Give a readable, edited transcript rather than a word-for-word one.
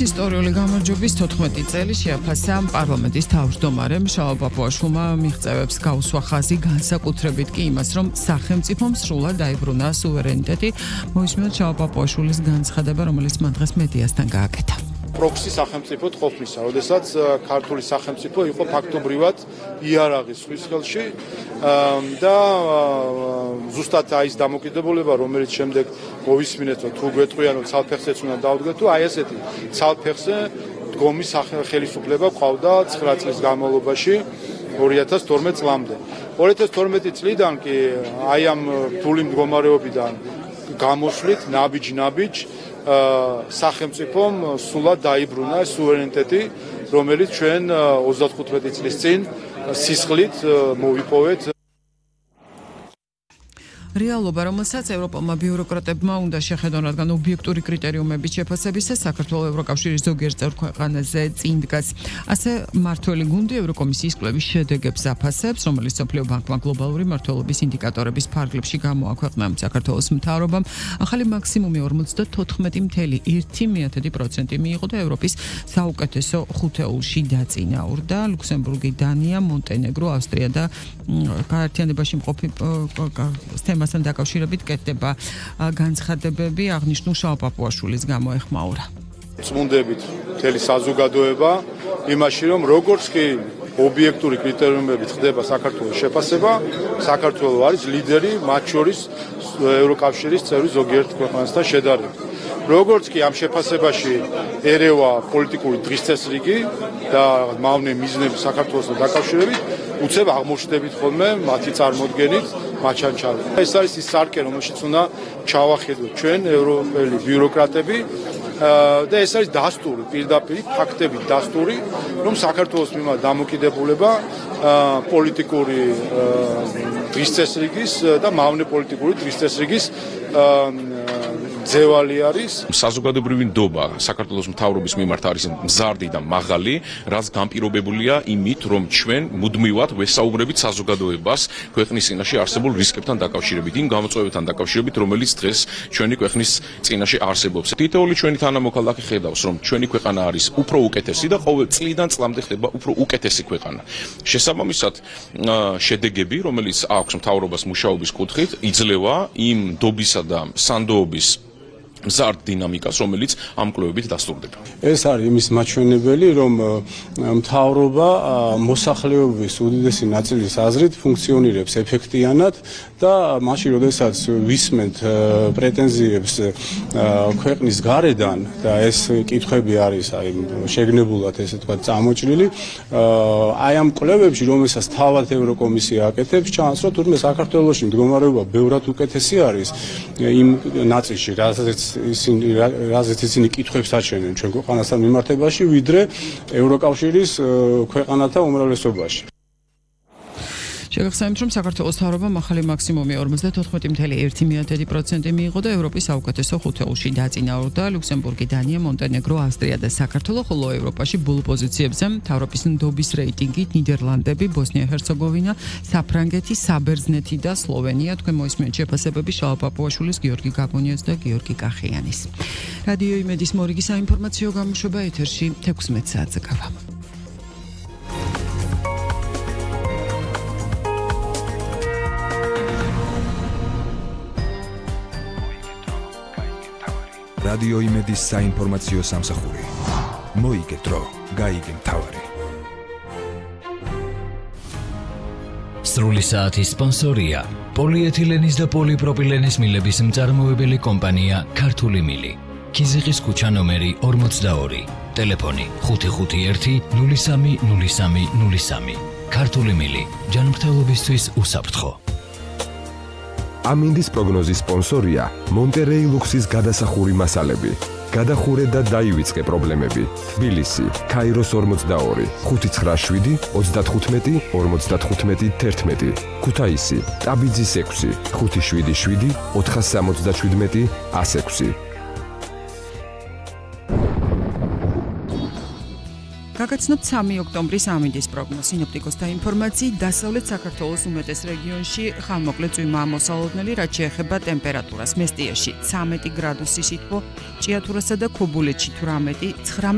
ისტორიული გამარჯვების 14 წელი შეაფასა პარლამენტის თავმჯდომარემ შალვა პაპუაშვილმა მიღწევებს გაუსვა ხაზი, განსაკუთრებით კი იმას, რომ სახელმწიფომ სრულად დაიბრუნა სუვერენიტეტი. მოისმინოთ შალვა პაპუაშვილის განცხადება, რომელიც მან დღეს მედიასთან გააკეთა. პროქსი სახელმწიფოდ ყოფნისა, როდესაც ქართული სახელმწიფო იყო ფაქტობრივად იარაღის ზღვის ხელში და ზუსტად ის დამოკიდებულება, რომელიც შემდეგ მოვისმინეთ, რომ თუ გვეტყვიან, რომ ცალფეხზეც უნდა დავდგეთ, თუ აი ესეთი ცალფეხზე დგომის ხელისუფლება ყავდა 9 წლის განმავლობაში 2012 წლამდე. 2012 წლიდან კი აი ამ რთული მდგომარეობიდან გამოსვლით ნაბიჯ სახელმწიფომ სულად დაიბრუნა სუვერენიტეტი, რომელიც ჩვენ 35 წლის წინ სისხლით მოვიპოვეთ. რეალობა, რომელსაც ევროპელმა ბიუროკრატებმა უნდა შეხედონ, რადგან ობიექტური კრიტერიუმების შეფასებისას საქართველოს ევროკავშირის ზოგიერთ წევრ ქვეყანაზე წინ დგას. ასე მართველი გუნდი ევროკომისიის კვლევის შედეგებს აფასებს, რომელიც მსოფლიო ბანკმა გლობალური მმართველობის ინდიკატორების ფარგლებში გამოაქვეყნა. საქართველოს მთავრობამ ახალი მაქსიმუმი 54.1% მიიღო და ევროპის საუკეთესო ხუთეულში დაწინაურდა. ლუქსემბურგი, დანია, მონტენეგრო, ავსტრია და გაერთიანებაში მყოფი მასთან დაკავშირებით კეთდება განცხადებები, აღნიშნულ შალვა პაპუაშვილის გამოეხმაურა. წმუნდებით მთელი საზოგადოება იმაში, რომ როგორც კი ობიექტური კრიტერიუმებით ხდება საქართველოს შეფასება, საქართველოს არის ლიდერი მათ შორის ევროკავშირის წევრი ზოგიერთ ქვეყანასთან შედარებით. როგორც კი ამ შეფასებაში ერევა პოლიტიკური დღის წესრიგი და მავნე მიზნები საქართველოსთან დაკავშირებით, უცებ აღმოჩნდებით ხოლმე მათი წარმოდგენით მაჩანჩალით. ეს არის ის სარკე, რომელშიც უნდა ჩავახედოთ ჩვენ ევროპელი ბიუროკრატები და ეს არის დასტური, პირდაპირ ფაქტებით დასტური, რომ საქართველოს მიმართ დამოკიდებულება პოლიტიკური დღის წესრიგის და მავნე პოლიტიკური დღის წესრიგის ძევალი არის. საზოგადოებრივი ნდობა საქართველოს მთავრობის მიმართ არის მზარდი და მაღალი, რაც განპირობებულია იმით, რომ ჩვენ მუდმივად ვესაუბრებით საზოგადოებას ქვეყნის წინაშე არსებულ რისკებთან დაკავშირებით, იმ გამოწვევებთან დაკავშირებით, რომელიც დღეს ჩვენი ქვეყნის წინაშე არსებობს. თითოეული ჩვენი თანამოქალაქე ხედავს, რომ ჩვენი ქვეყანა არის უფრო უკეთესი და ყოველ წლიდან წლამდე ხდება უფრო უკეთესი ქვეყანა. შესაბამისად, შედეგები, რომელიც აქვს მთავრობას მუშაობის კუთხით, იძლევა იმ ნდობისა და სანდოობის მზარდ დინამიკას, რომელიც ამ კვლევებით დასტურდება. ეს არის იმის მაჩვენებელი, რომ მთავრობა მოსახლეობის უდიდესი ნაწილის აზრით ფუნქციონირებს ეფექტიანად და მაშინ, როდესაც ვისმენთ პრეტენზიებს ქვეყნის გარედან და ეს კითხვები არის შეგნებულად ესე თქვა წამოჭრილი, აი ამ კვლევებში, რომელსაც თავად ევროკომისია აკეთებს, ჩანს, რომ თურმე საქართველოში მდგომარეობა ბევრად უკეთესი არის იმ ნაწილში, რაზეც ისინი კითხვებს აჩვენენ ჩვენ ქვეყანასთან მიმართებაში, ვიდრე ევროკავშირის ქვეყანათა უმრავლესობაში. შეგახსენებთ, რომ საქართველოს მთავრობამ ახალი მაქსიმუმი 54.1% მიიღო და ევროპის საუკეთესო ხუთეულში დაწინაურდა. ლუქსემბურგი, დანია, მონტენეგრო, ავსტრია და საქართველო, ხოლო ევროპაში ბოლო პოზიციებზე მთავრობის ნდობის რეიტინგით ნიდერლანდები, ბოსნია-ჰერცეგოვინა, საფრანგეთი, საბერძნეთი და სლოვენია. თქვენ მოისმენთ შეფასებები შალვა პაპუაშვილის, გიორგი გაბონიას და გიორგი კახიანის. რადიო იმედის მორიგი საინფორმაციო გამოშვება ეთერში 16 საათზე გავა. რადიო იმედის საინფორმაციო სამსახური. მოიგეთ დრო, გაიგე მთავარი. სრული საათის სპონსორია პოლიეთილენის და პოლიპროპილენის მილების მწარმოებელი კომპანია ქართული მილი. ქიზიყის ქუჩა ნომერი 42. ტელეფონი 551 03 03 03. ქართული მილი. ჯანმრთელობისთვის უსაფრთხო. ამინდის პროგნოზის სპონსორია მონტერეი ლუქსის გადასახური მასალები. გადახურე და დაივიწყე პრობლემები. თბილისი, ქაიროს 42, 597 35 55 11. ქუთაისი, ტაბიძის 6, 577 477 106. გაგაცნობთ 3 ოქტომბრის ამინდის პროგნოზი. სინოპტიკოსთა ინფორმაციით, დასავლეთ საქართველოს უმეტეს რეგიონში ხანმოკლე წვიმაა მოსალოდნელი, რაც შეეხება ტემპერატურას. მესტიაში 13 გრადუსი სითბო, ჭიათურასა და ქობულეთში 18, 19